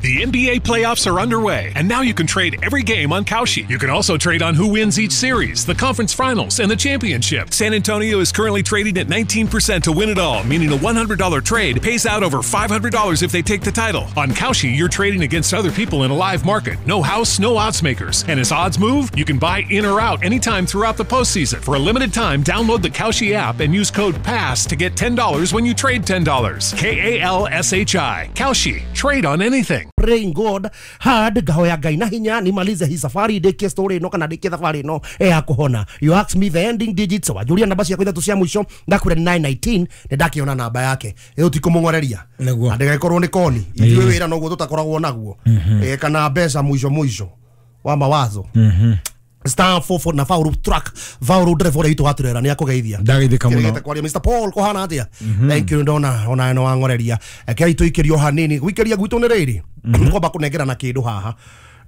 The NBA playoffs are underway, and now you can trade every game on Kalshi. You can also trade on who wins each series, the conference finals, and the championship. San Antonio is currently trading at 19% to win it all, meaning a $100 trade pays out over $500 if they take the title. On Kalshi, you're trading against other people in a live market. No house, no odds makers. And as odds move, you can buy in or out anytime throughout the postseason. For a limited time, download the Kalshi app and use code PASS to get $10 when you trade $10. Kalshi. Kalshi. Trade on anything. Praying God hard, ngahoya Ngai na hinya nimalize hii safari, ndikie story ino kana ndikie thabarĩ ino ya kuhona. You ask me the ending digits, wanjuria namba ciakwa ithatũ cia mũico, ndakwĩra 919, nĩ ndakiona namba yake ĩyo tikũmũng'oreria Nĩguo. Ndĩgagĩkorwo nĩ koni ithuĩ wĩra noguo tũtakoragwo naguo. Kana mbeca mũico mũico wa mawazo. Star 44 na Vauru truck, Vauru driver ũrĩa witũ wa turera nĩ akũgeithia. Ndageithĩka mũno. Kĩrĩgĩte kwaria Mr Paul kũhana atĩa? Thank you, ndona ona no wangoreria. Rekei tũikĩrio hanini, gwikĩria gwitũ nĩ rĩrĩ kwamba kũnengerana kĩndũ haha.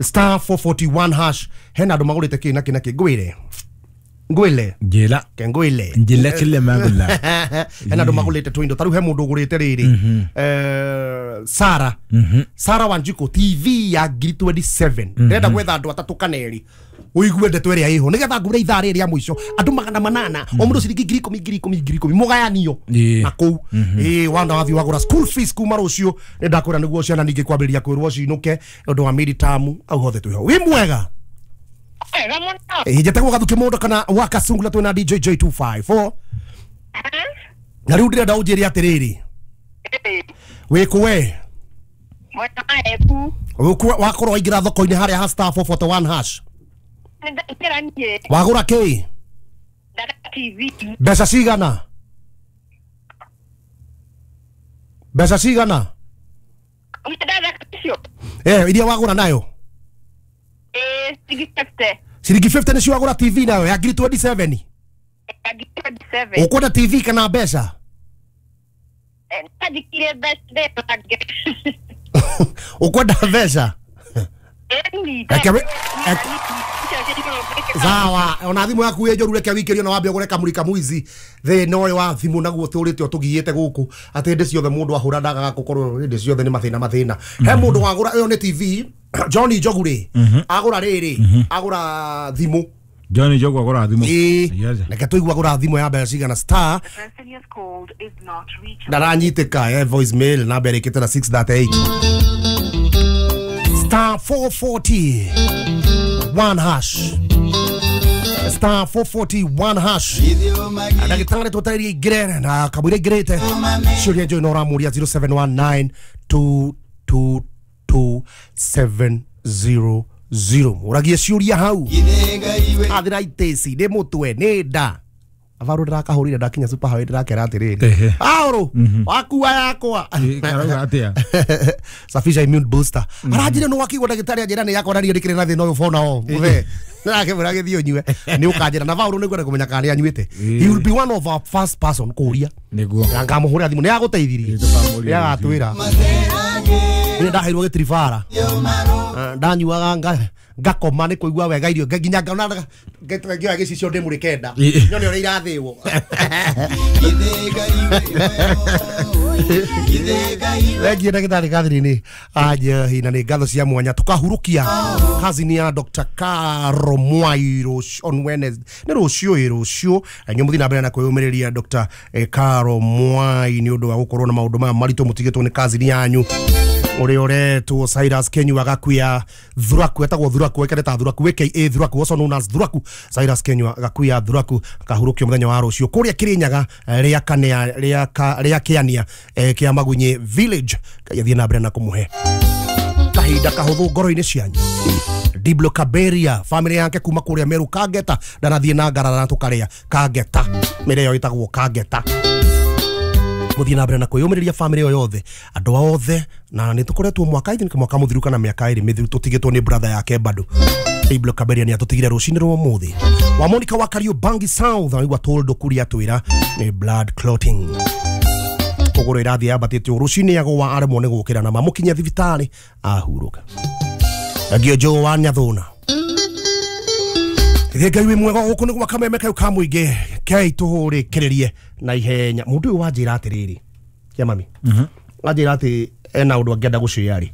Star 441 hash, hena andũ magũrĩte kĩ na kĩ na kĩ, ngwĩre ngwĩle Njĩra. Ke ngwĩle Njĩra kile magula. Hena andũ magũrĩte tũindo ta rĩu he mũndũ ũgũrĩte rĩrĩ, Sara Sara Wanjiko TV ya ngiri 27. Ndĩrenda gwetha andũ atatũ kana erĩ ũigue ndeto ĩrĩa ĩho nĩgetha ngure ithaa rĩrĩ rĩa mũico andũ 800, o mũndũ ciringi ngiri ikũmi ngiri ikũmi ngiri ikũmi mũgayanio na kũu. Ĩĩ wana wathiĩ wagũra school fees kuma rũciũ, nĩ ndakwĩra nĩguo ciana ningĩ kwambĩrĩria kwĩrwo cinũke ũndũ wa mid-term au hothe twĩho. Wĩ mwega? Wega mũno. Ĩĩ njetagwo Gathuki Mũndũ kana wa Kasungula, twĩna DJ J254 na rĩu ndĩrenda ũnjĩre atĩrĩrĩ, wĩkũ we? Mwena wa Embu. Wĩkũ wakorwo waingĩra thoko-inĩ harĩa ha star 441 hash? Nĩndaingĩra niĩ. Wagũra kĩ? Ndagũra TV. Mbeca cigana? Mbeca cigana? Iria wagũra nayo? Ciringi 50. Ciringi 50 nĩcio wagũra TV nayo ya ngiri 27? Ya ngiri 27. Ũkwenda TV kana mbeca? Ndajikire mbeca ndĩtange. Ũkwenda mbeca? Sawa, ona thimũ yaku ĩ njũru, reke wikĩrio na wambe ũgũre kamũrika mwizi. Thĩna ũyũ wa thimũ naguo tũrĩte ũtũgiĩte gũkũ atĩ hĩndĩ ciothe mũndũ ahũra ndagaga gũkorwo hĩndĩ ciothe nĩ mathĩna mathĩna. He mũndũ wagũra ĩyo nĩ TV, John Njogu rĩ, agũra rĩrĩ, agũra thimũ. John Njogu agũra thimũ. Ĩĩ, reke tũigue agũra thimũ ya mbeca cigana. Star ndaranyitĩka, voice mail namba ĩrĩkĩte na 638. Star 441 hash. Star 441 hash. Ndagĩtarĩ tũtarĩrie ingĩre na kamũira ingĩrĩte ciũria njũĩ na ũramũria 0719 222 700. Ũragie ciũria hau. Athira itĩci nĩ mũtwe nĩ nda. Avaru ndĩrakahũrire ndakinya super highway ndĩrakera atĩrĩrĩ. Aũrũ wakua yakwa. Karauga atĩa? Safisha immune booster. Aranjĩra nĩ wakigwo ndagĩtarĩ anjĩra nĩ yakwa na niĩ ndĩkĩrĩ na thĩna ũyũ fona o. Mũthee. Nĩrakĩmwĩra gĩthiĩ ũnyue. Nĩ ũkanjĩra na Vauru nĩngwenda kũmenya kana nĩ anyuĩte. He will be one of our first person kũria. Nĩguo. Na ngamũhũrĩra thimũ nĩ agũteithirie. Nĩ agatwĩra. Nĩ ndaheirwo gĩtiribara. Ndanyuaga ngakoma nĩ kũigua wega irio nginya ngona ngĩoya gĩcicio ndĩmũrĩ kenda nyone ũrĩa irathĩwo. Thengiũ ndagĩtarĩ Catherine Anjohi, na nĩ ngatho cia mwanya tũkahurũkia kazini ya Dr. Caro Mwai on Wednesday nĩ rũciũ ĩ rũciũ inyuĩ mũthiĩ na mbere na kwĩyũmĩrĩria Dr. Caro Mwai nĩ ũndũ wa gũkorwo na maũndũ maya maritũ mũtigĩtwo nĩ kazini yanyu ũrĩa ũretwo Cyrus Kenyua Gakuya Thuraku, etagwo Thuraku, ekere ta Thuraku, aka Thuraku, also known as Thuraku. Cyrus Kenyua Gakuya Thuraku akahurũkio mũthenya wa rũciũ kũrĩa Kĩrĩnyaga rĩa kanea rĩa kĩania kĩa Magunyi village. Ngai athiĩ na mbere na kũmũhe kahinda kahũthũ ngoro-inĩ cianyu. Diblo Kaberia family yake kuma kũrĩa Meru Kangeta ndanathiĩ na ngarara na tũkarĩa Kangeta, mĩrĩa ĩyo ĩtagwo Kangeta. Mũthiĩ na mbere na kwĩyũmĩrĩria family ĩyo yothe, andũ othe, na nĩ tũkoretwo mwaka, I think mwaka mũthiru kana mĩaka ĩrĩ mĩthiru tũtigĩtwo nĩ brother yake bado. Diblo Kaberia nĩ atũtigire rũcinĩ rwa ũmũthĩ. Wa Monica wa Kariobangi South aigua toldo kũrĩa atwĩra nĩ blood clotting. Kũgũrũ ĩrathiĩ yambatĩte rũcinĩ agũa aremwo nĩ gũkĩra na mamũkinyia thibitarĩ ahurũka. Agio Joe wa Nyathũna. Ithĩ Ngai wĩ mwega gũkũ nĩ gwa kameme kau ka mũingĩ kei tũhũrĩkĩrĩrie na ihenya. Mũndũ ũyũ wanjĩra atĩrĩrĩ, kĩa mami, wanjĩra atĩ ena ũndũ angĩenda gũshare.